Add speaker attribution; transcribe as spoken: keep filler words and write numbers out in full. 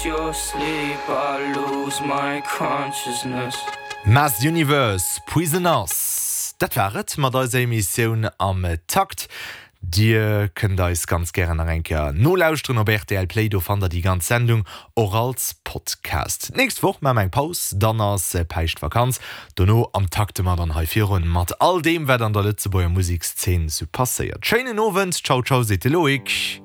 Speaker 1: your sleep, I lose my consciousness.
Speaker 2: Mass Universe, Poisonous. Dat war et mat eiser Emissioun am Takt. Dir kënnt eis ganz gären nach eng Kéier nolauschteren op rtl Play, do fannt der déi ganz Sendung och als Podcast. D'nächst Woch maache mer eng Paus, dann ass Päischtvakanz. Dono am Takte mer dann hei virun mat all deem, wat an der Lëtzebuerger Musekszeen sou passéiert. Schéinen Owend, ciao ciao, seet de Loïc.